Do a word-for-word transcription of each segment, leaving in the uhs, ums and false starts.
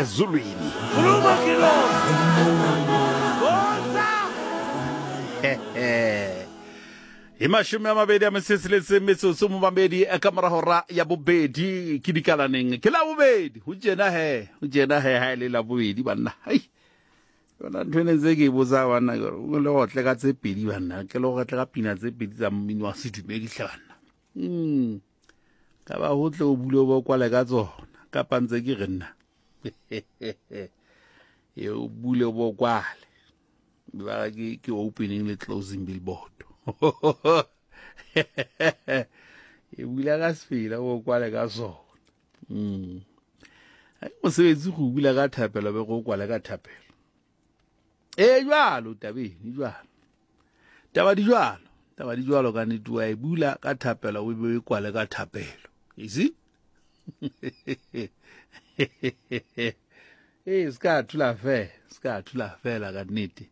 Ezulwini. E mashome a mabedi a metso e tsheletseng metsotso mobamedi ka mora hora ya bobedi ke dikalaneng ke la bobedi ho tjena he ho tjena he ha e le la bobedi banna hai yona ntho ene tse ke e botsa banna ke re, o le otle ka tse pedi banna ke le otle ka pina tse pedi tsa mmino wa sedumedi hle banna mm ka ba ho tle o bule o bo kwale ka tsona kapa ntse ke re nna e o bule o bo kwale ba ke ke opening le closing billboard e bula ka sefela o kwale ka sona mm ai mosebetsi go bula ka thapelo be go kwale ka thapelo e jwalo tabeng e jwalo taba di jwalo taba di jwalo ka nnete wa e bula ka thapelo o be o kwale ka thapelo you see e ska thula fe ska thula fela ka nnete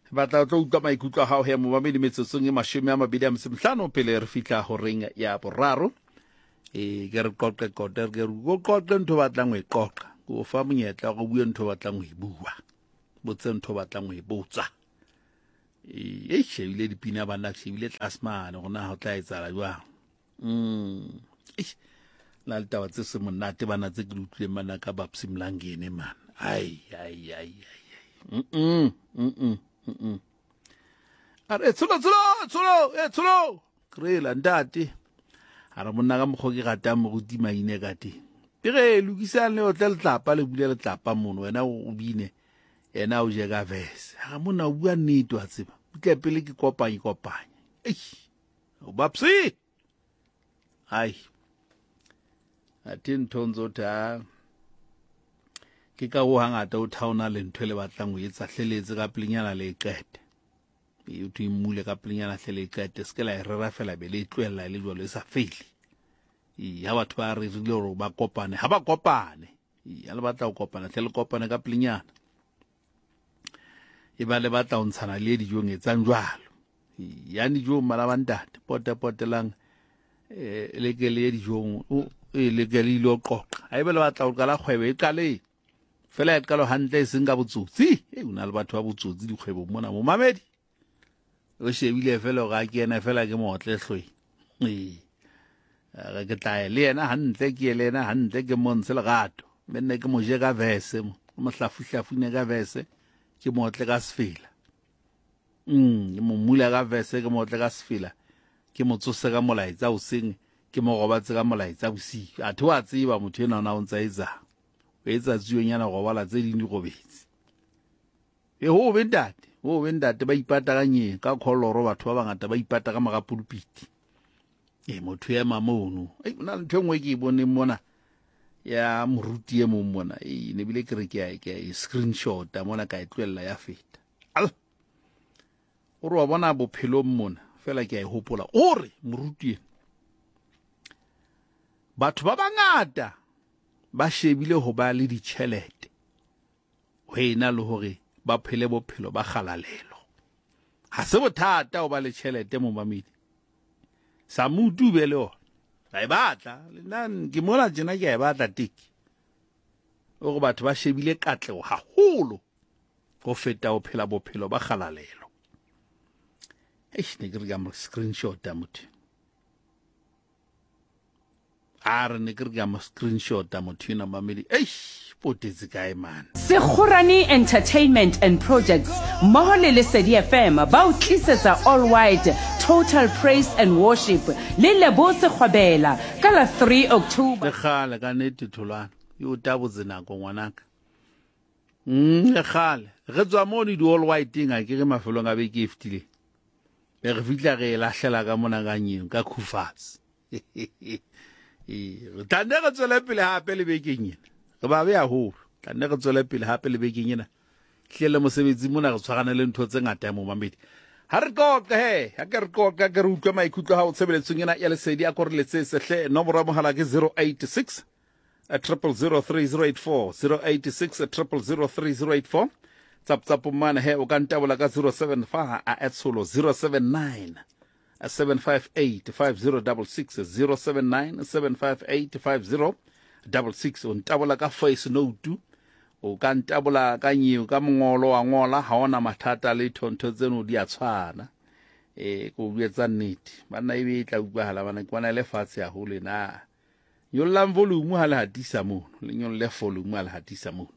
batla o tlo utlwa maikutlo a hao he momamedi metsotsong e mashome a mabedi a metso mehlano pele re fihla horeng ya boraro e ke re qoqe qoqe ke re o qoqe ntho batlang ho e qoqa ke o fa monyetla go bue ntho batlang ho e bua botse ntho batlang ho e botsa e shebile dipina banna ke shebile tlase mane gona ho tla etsahala jwang mm na le taba tse se monate bana tse ke di utlwileng bana ka Babsy Mlangeni man ai ai ai ai mm mm mm a re tsholo tsholo tsholo e tsholo krela ntate a re monna ka mokgwa ke ratang moruti maine ka teng ke re lokisang le otle letlapa le bule letlapa mono wena o bine yena o je ka verse a re monna o bua nnete wa tseba butle pele ke kopanye kopanye eish o Babsy ai athe ntho ntso tha ke ka ho hangata o thaona le ntho le batlang ho etsa hleletse ka pelenyana le qete e o mmule ka pelenyana hle le qete se ke la e rera fela be le tlohella le jwalo e sa fele e ha batho ba rerile hore ba kopane ha ba kopane e le batla ho kopana hle le kopane ka pelenyana e ba le batla ho ntshana le dijong etsang jwalo ya dijong bana ba ntate pote potelang eh le ke le dijong e le ke le ilo qoqa ha ebe le batla ho qala kgwebo e qale fela e qalo hantle e seng ka botsotsi e una le batho ba botsotsi dikgwebong mona momamedi o shebile fela hore a ke yena fela ke motle hloi ee re ke tla le yena hantle ke le yena hantle ke montshe lerato mme nne ke mo je ka verse mo mo hlafuhlafune ka verse ke motle ka sefela mm ke mo mula ka verse ke motle ka sefela ke mo tsose ka molaetsa hoseng ke mo robatse ka molaetsa bosiu athe wa tseba motho enwa ona o ntsa etsang o etsa tsionyana robala tse ding di robetse e ho be ntate ho be ntate ba ipata ka nyeng ka kholoro batho ba bangata ba ipata ka mora pulpiti e motho ema mono e na le ntho e nngwe ke e boneng mona ya moruti e mong mona e ne bile ke re ke a ke a screenshot mona ka e tlohella ya feta al o re wa bona bophelong mona fela ke a e hopola o re moruti ena batho ba bangata ba shebile ho ba le ditjhelete ho ena le hore ba phele bophelo ba kgalalelo ha se bothata ho ba le tjhelete momamedi sa mutu be le ona ba e batla le nna ke mola tjena ke a e batla teki o re batho ba shebile katleho haholo ho feta ho phela bophelo ba kgalalelo eish ne ke re ka mo screenshot a motho a re ne ke re ka mo screenshot a motho ena mamedi eish potetse kae man Sekgorane Entertainment and Projects mmoho le Lesedi F M ba o tlisetsa All White Total Praise and Worship le Lebo Sekgobela ka la three October. Le kgale ka nnete tholwana e o tabotse nako ngwanaka mm le kgale re tswa mo di All White-eng a ke re mafelong a beke e fetileng be re fihla re e lahlela ka mona ka nyeng ka khufatse e re tla nne re tswele pele hape le bekeng ena re ba be haholo tla nne re tswele pele hape le bekeng ena hle le mosebetsi mona re tshwarane le ntho tse ngata ya momamedi ha re qoqe he ha ke re qoqe ke re utlwe maikutlo a hao tshebeletsong ena ya Lesedi a ko re letsetse hle nomoro ya mohala ke zero eight six triple zero three zero eight four zero eight six triple zero three zero eight four tsap tsap mane he o ka ntabola ka zero seven five a etsholo zero seven nine seven five eight five zero double six zero seven nine seven five eight five zero double six o ntabola ka voice note O ka ntabola ka nyeo ka mongolo wa ngola, ha ona mathata le ntho tseno di a tshwana. E ko bua nnete. Banna ebe e tla utlwahala bana ke bona le fatshe haholo na. Nyollang volume ha le hatisa mono, le nyolle volume ha le hatisa mono.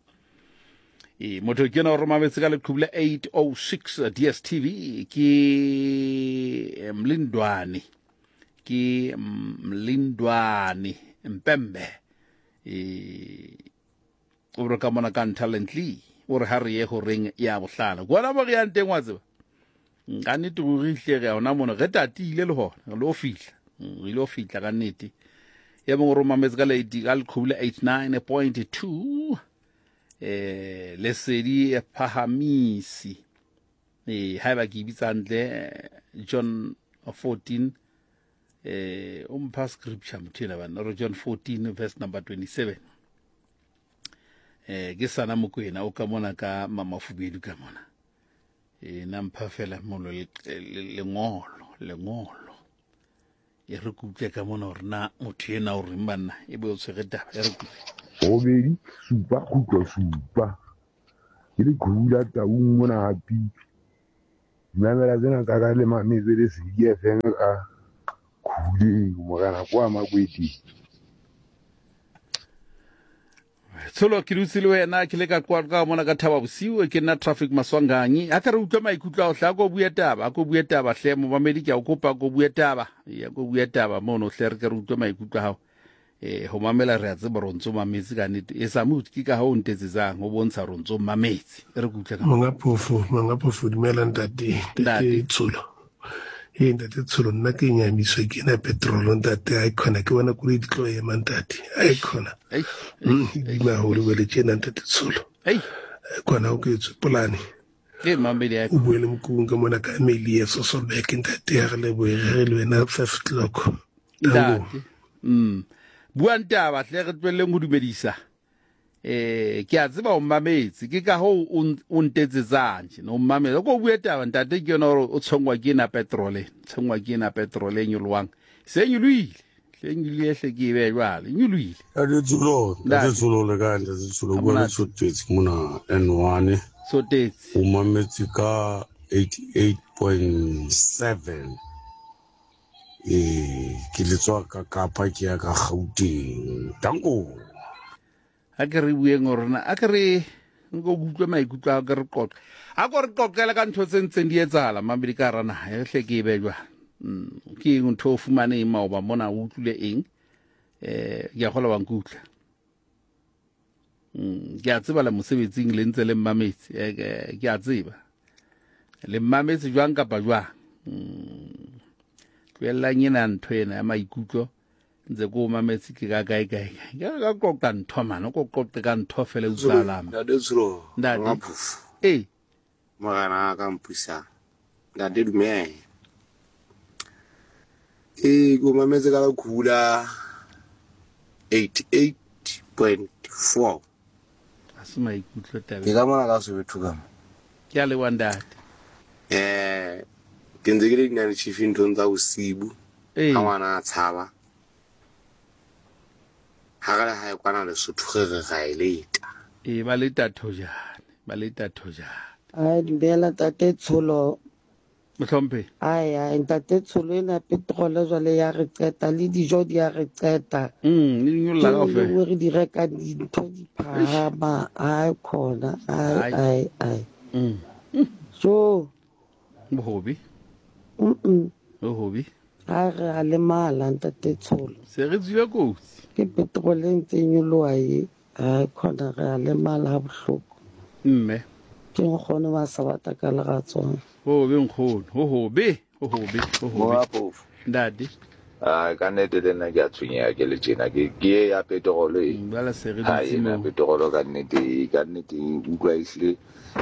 E motho ke na o romametse ka leqhubu la eight oh six D S T V ke Mlindwane. Ke Mlindwane Mpembe. E o re ka mona ka Talently o re ha re ye horeng ya bohlano. Bona mo re yang teng wa tseba. Ka nnete ruri hle re ona mono re tatile le hona re lo fihla. Re lo fihla ka nnete. Ya mongwe romametse ka ka leqhubu la eight nine point two eh Lesedi Phahamisi. Eh haeba ke bitsa hantle John fourteen eh o mpha scripture motho ena bana re John fourteen verse number twenty-seven. Eh ke sana Mokwena o ka mona ka Mama Fubedu ka mona. E na mpha fela molo lengolo lengolo. E re kutle ka mona hore na motho ena o reng banna e be o tshwere taba e re kutle. Robedi supa kgutlo supa. Ke le khula taung mona hapi. Mamela tsena tsa ka le mametse le Lesedi F M ka khuleng morana kwa Makweteng. Tsholo ke dutse le wena ke le ka kwa ka mona ka Thaba Bosiu ke nna Traffic Maswanganyi. A ka re utlwa maikutlo a o hla ko bua taba, ko bua taba hle momamedi ke a o kopa ko bua taba. Ya ko bua taba mono hle re ke re utlwe maikutlo a hao. Eh ho mamela re a tseba re ntso mametse ka nnete. E sa motho ke ka ha o ntetsetsang ho bontsha re ntso mametse. E re kutlwe ka Monga Phofo, Monga Phofo dumela ntate, ntate Tsholo. E ntate Tsholo nna ke nyamiswa ke na petrol ntate a khona ke bona koloi di tlo ema ntate. A khona. Di maholo le tjena ntate Tsholo. Ei. Khona o ke tswe polane. Ke mamedi ya. O buele mokung ka mona ka Amelia Sosobek ntate ya re le boe re le wena five o'clock. Ntate. Mm. Buang taba hle re tlohelleng ho dumedisa. Eh ke a tseba o mametse ke ka ho o ntetsetsang tje no mametse ko bue taba ntate ke yona hore o tshwengwa ke ena petrol tshwengwa ke ena petrol e nyolowang se nyolohile hle nyolohile hle ke be jwale nyolohile. Ntate Tsholo, ntate Tsholo le kae ntate Tsholo bua le Tshotetse mona N one Tshotetse o mametse ka eighty-eight point seven. Eh ke letswa ka Kapa ke ya ka Gauteng. Danko. A ke re bueng rona a ke re nko utlwe maikutlo a ke re qoqe. A ko re qoqele ka ntho tse ntseng di etsahala mamedi ka hara naha e hle ke e be jwang. Ke eng ntho o fumane eng maoba mona o utlwile eng? Eh ke a kgolwa wa nkutlwa. Ke a tseba le mosebetsing le ntse le mmametse. Ke a tseba. Le mmametse jwang kapa jwang? Tlohellang ena ntho ena ya maikutlo ntse ko mametse ke ka kae kae. Ke ka qoqa ntho mane, ko qoqe ka ntho fela utlwahala. Ntate Tsholo, ntate. Eh. Morena ka mpusa. Ntate dumela. Eh ko mametse ka la khula eighty-eight point four. A se maikutlo taba. Ke ka mona ka Soweto ka mo. Ke a leboha ntate. Eh ke ntse ke le dinane chief nthong tsa bosibu. Eh. Ha ngwana a tshaba. Ha re le hae kwana Lesotho re re ra e leta. E ba leta thojane, ba leta thojane. Ai dumela ntate Tsholo. Mohlomphe. Ai ai ntate Tsholo ena petrol jwale ya re qeta le dijo di ya re qeta. Mm, le nyolla kaofela. Re di reka dintho di phahama, ai khona, ai ai ai. Mm. So bohobi. Mm. Bohobi. Ha re a lemala ntate Tsholo. Se re tswile kotsi. Ke petrol e ntse nyoloha e, ai khona re a lemala ha bohloko. Mme ke nkgono ba sa batla ka leratswana. Ho be nkgono, ho hobe, ho hobe, ho hobe. Ntate. Ah ka nnete le nna ke a tshwenyeha ke le tjena ke ke ya petrol e. Jwale se re Ha dutse ena moo. petrol ka nnete, ka nnete utlwa ehlile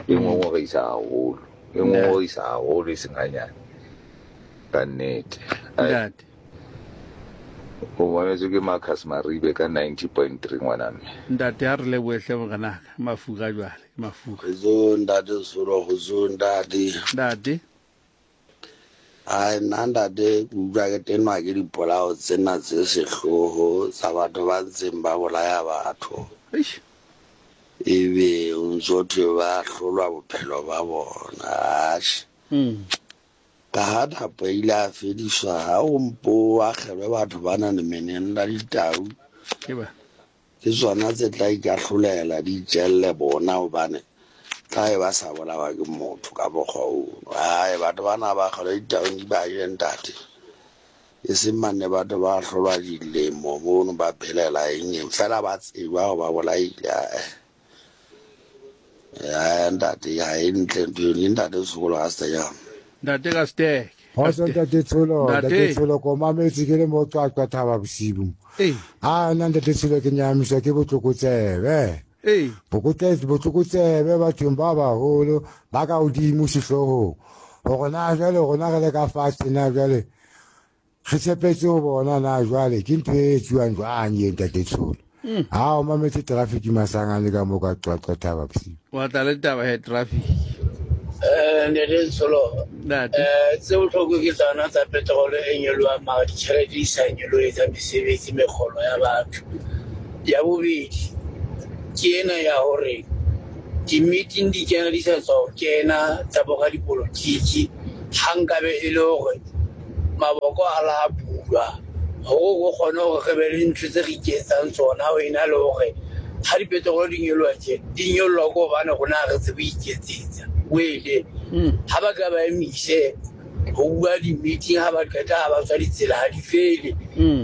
e ngongorisa haholo. E ngongorisa haholo e seng hanyane. Ka nnete. Ntate. O mametse ke Marcus Maribe ka ninety point three ngwana mme. Ntate ha re lebohe hle morenaka, mafura jwale, mafura. Kgotso ntate Tsholo, kgotso ntate. Ntate. Ai nna ntate ke utlwa ke tenwa ke dipolao tsena tse sehloho tsa batho ba ntseng ba bolaya batho. Eish. Ebe o ntso thwe ba hlolwa bophelo ba bona. Atjhe. Ka ha thapo e ile a fediswa ha o mpo akgelwe batho ba nang le meneng la ditau. Ke ba. Ke tsona tse tla ikahlolela di itjelle bona hobane tla e ba sa bolawa ke motho ka mokgwa ono. Ai batho bana ba akgelwe ditaung di ba je ntate. E seng mane batho ba hlolwa dilemo mono ba phelela eng eng fela ba tseba hore ba bolaile. Ya ntate ha e ntle ntho eno ntate sekolo ha se jang. Ntate ka steke. Kgotso ntate Tsholo, ntate Tsholo ko mametse ke le mo Qwaqwa Thaba bosibu. A nna ntate Tsholo ke nyamiswa ke botlokotsebe. Botlokotsebe bathong ba baholo ba ka hodimo sehloohong. Hore na jwale rona re le ka fatshe na jwale re tshepetse ho bona na jwale ke ntho e etsuwang jwang e ntate Tsholo. Ha o mametse traffic masangane ka mo ka Qwaqwa Thaba bosibu. Wa tla le taba ya traffic. Eh ntate Tsholo, eh tse bohloko ke tsona tsa petrol e nyolohang mara ditjhelete di sa nyolohe tsa mesebetsi mekgolo ya batho. Ya bobedi ke ena ya hore di-meeting di kena di sa tswa ho kena tsa bo radipolotiki, ha nkabe e le hore maboko a la bulwa hore o kgone hore re be le ntho tse re iketsang tsona ho ena le hore ha dipetrol di nyoloha tje di nyoloha ke hobane rona ha re tsebe ho iketsetsa. Wele ha ba ka ba emise ho bua di-meeting ha ba qeta ha ba tswa ditsela ha di fele,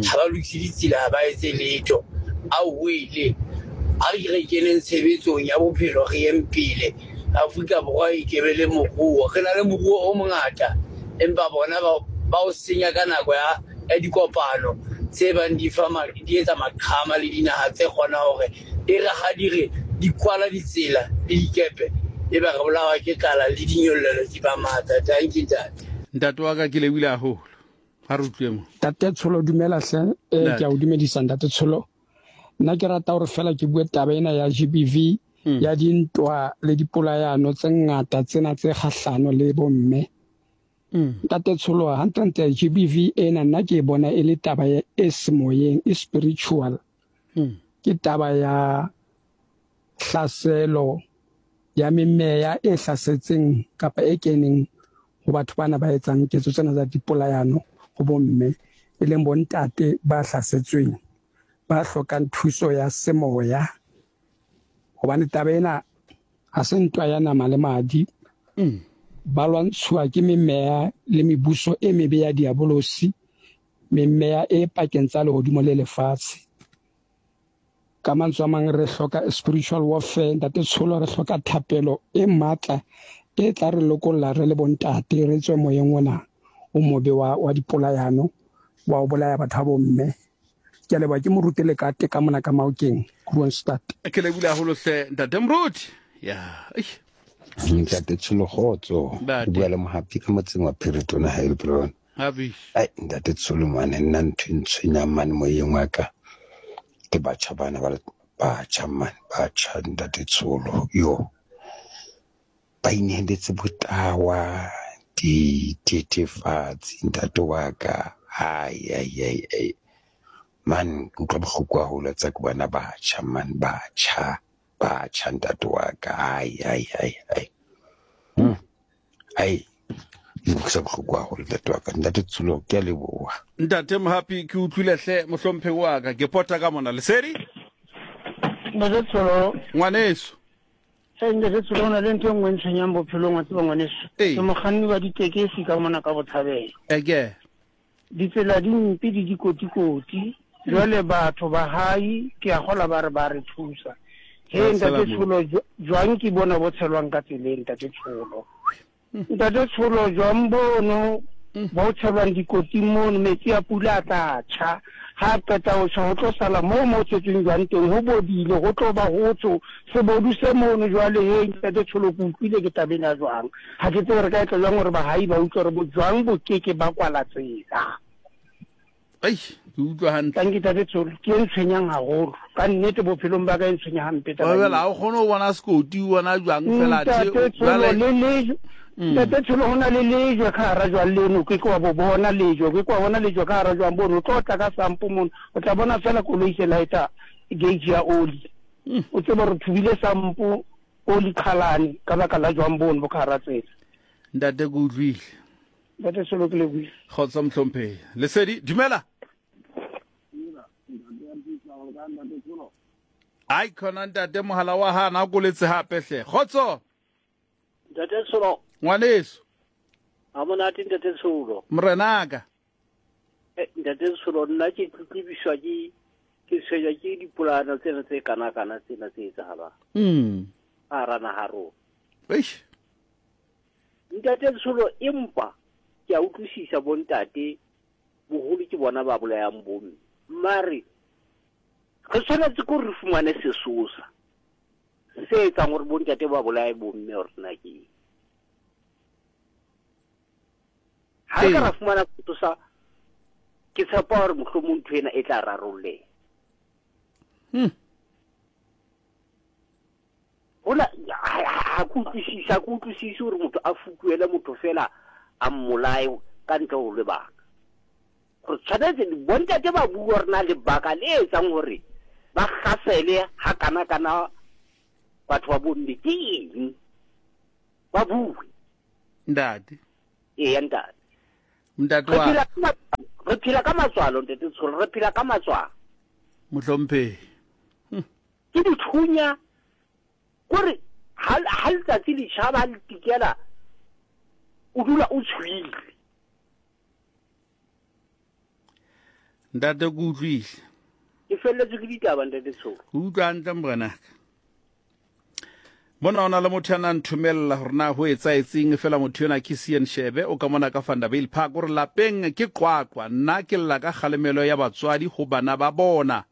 ha ba lokise ditsela ha ba etse letho. Ao wele a re re keneng tshebetsong ya bophelo re yeng pele. Afrika Borwa e kebe le moruo, re na le moruo o mongata empa bona ba ba o senya ka nako ya ya dikopano tse bang di fa di etsa maqhama le dinaha tse kgona hore e re ha di re di kwala ditsela le dikepe e ba re bolawa ke tlala le dinyollelo di ba matla. Thank you ntate. Ntate wa ka ke lebohile haholo. Ha re utlwe mo. Ntate Tsholo dumela hle, eh ke a o dumedisa ntate Tsholo. Nna ke rata hore fela ke bue taba ena ya G B V ya dintwa le dipolayano tse ngata tsena tse kgahlano le bomme. Ntate Tsholo hantlentle G B V ena nna ke bona e le taba e semoyeng, e spiritual. Ke taba ya hlaselo ya memeya e hlasetseng kapa e keneng ho batho bana ba etsang ketso tsena tsa dipolayano ho bomme, e leng bontate ba hlasetsweng ba hlokang thuso ya semoya. Hobane taba ena ha se ntwa ya nama le madi, ba lwantshuwa ke memeya le mebuso e mebe ya diabolosi, memeya e pakeng tsa lehodimo le lefatshe. Ka mantswe a mang re hloka spiritual warfare ntate Tsholo, re hloka thapelo e matla e tla re lokolla re le bontate re tswe moyeng ona o mobe wa wa dipolayano wa o bolaya batho ba bomme. Ke a leboha, ke moruti le ka teka mona ka Maokeng Kroonstad. Ke lebohile haholo hle ntate Moruti. Ya ntate Tsholo kgotso, o bua le Mohapi ka motseng wa Phiritona Heilbron. Happy. Ai ntate Tsholo mane nna ntho e ntshwenyang mane moyeng wa ka ke batjha bana ba batjha mane batjha ntate Tsholo yo ba inehelletse botawa dithethefatsi ntate wa ka. Ai ai ai ai man ke utlwa bohloko haholo tsa ke bona batjha man batjha batjha ntate wa ka. Ai ai ai ai ai ke bohloko haholo ntate wa ka. Ntate Tsholo ke a leboha. Ntate Mohapi ke utlwile hle mohlomphe wa ka, ke pota ka mona Lesedi. Ntate Tsholo ngwaneso. Hey ntate Tsholo, na le ntho e nngwe e ntshwenyang bophelong wa tseba ngwaneso. Ke mokganni wa ditekesi ka mona ka Botshabelo. Eke ditsela di mpe di dikotikoti jwale batho ba hae ke a kgola ba re ba re thusa. He ntate Tsholo jwang ke bona bo tshelwang ka tseleng ntate Tsholo. Ntate Tsholo jwang bono bo tshelwang dikoting mono metsi a pula a tla tjha ha qeta ho tjha ho tlo sala moo mo tshetsweng jwang teng ho bodile ho tlo ba ho tsho sebodu se mono jwale. He ntate Tsholo ke utlwile ke tabeng ya jwang, ha ke tsebe re ka etla jwang hore bahai ba utlwe hore bojwang bo keke ba kwala tsela. Ai ke utlwa hantle. Thank you ntate Tsholo, ke e ntshwenyang haholo ka nnete bophelong ba ka, e ntshwenya hampe taba. Wa bela ha o kgone ho bona sekoti o bona jwang fela tje jwale le le ntate Tsholo ho na le lejwe ka hara jwang leno, ke ke wa bo bona lejwe, ke ke wa bona lejwe ka hara jwang bono. O tlo tla ka sampo mono, o tla bona fela koloi se laeta gauge ya oli. O tsebe re thubile sampo o liqhalane ka baka la jwang bono bo ka hara tsela. Ntate ke utlwile. Ntate Tsholo ke lebohile. Kgotso mohlomphehi. Lesedi, dumela. Ai khona ntate mohala wa hana o koletse hape hle. Kgotso. Ntate Tsholo. Ngwaneso. Ha monate ntate Tsholo. Morenaka. Eh ntate Tsholo nna ke tletlebiswa ke ke tshwenya ke dipolano tsena tse kana kana tsena tse etsahalang. Mm. A rana ha rona. Eish. Ntate Tsholo empa ke a utlwisisa bontate boholo ke bona ba bolayang bomme. Mare re tshwanetse ko re fumane sesosa se etsang hore bontate ba bolaye bomme hore na ke eng. Ha re ka ra fumana sesosa ke tshepa hore mohlomong ntho ena e tla rarolleha. Hmm. Hona ha ke utlwisise, ha ke utlwisise hore motho a fukuele motho fela a mmolaye ka ntle ho lebaka. Re tshwanetse bontate ba bua hore na lebaka le etsang hore ba hlasele ha kana kana batho ba bomme ke eng. Ba bue. Ntate. Eya ntate. Ntate wa. Re phela ka matswalo ntate Tsholo, re phela ka matswalo. Mohlomphehi. Ke dithunya kore ha ha letsatsi le tjhaba le tikela o dula o tshwile. Ntate ke utlwile. Ke felletswe ke ditaba ntate Tsholo. Ke utlwa hantle morenaka. Mona ona le motho a nang nthomella hore na ho etsaetseng fela motho yona ke Sian Shebe o ka mona ka Vanderbijl Park hore lapeng ke qwaqwa nna ke lla ka kgalemelo ya batswadi ho bana ba bona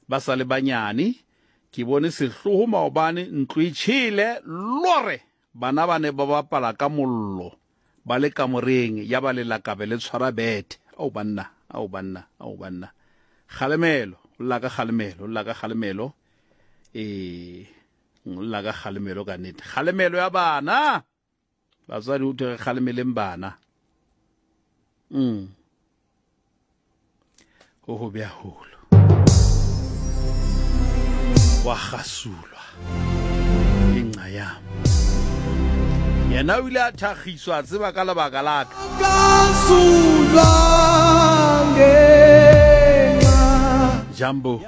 ba sa le banyane. Ke bone sehloho maobane ntlo e tjhele lore bana ba ne ba bapala ka mollo ba le kamoreng ya ba lelakabe le tshwara bethe. Ao banna, ao banna, ao banna. Kgalemelo, o lla ka kgalemelo, o lla ka kgalemelo. Eh o lla ka kgalemelo ka nnete. Kgalemelo ya bana. Batswadi o thwe re kgalemeleng bana. Mm. Ho ho be haholo. Wa kgasulwa. Ke nqa ya. Yena o ile a thakgiswa tseba ka lebaka la ka. Jambo.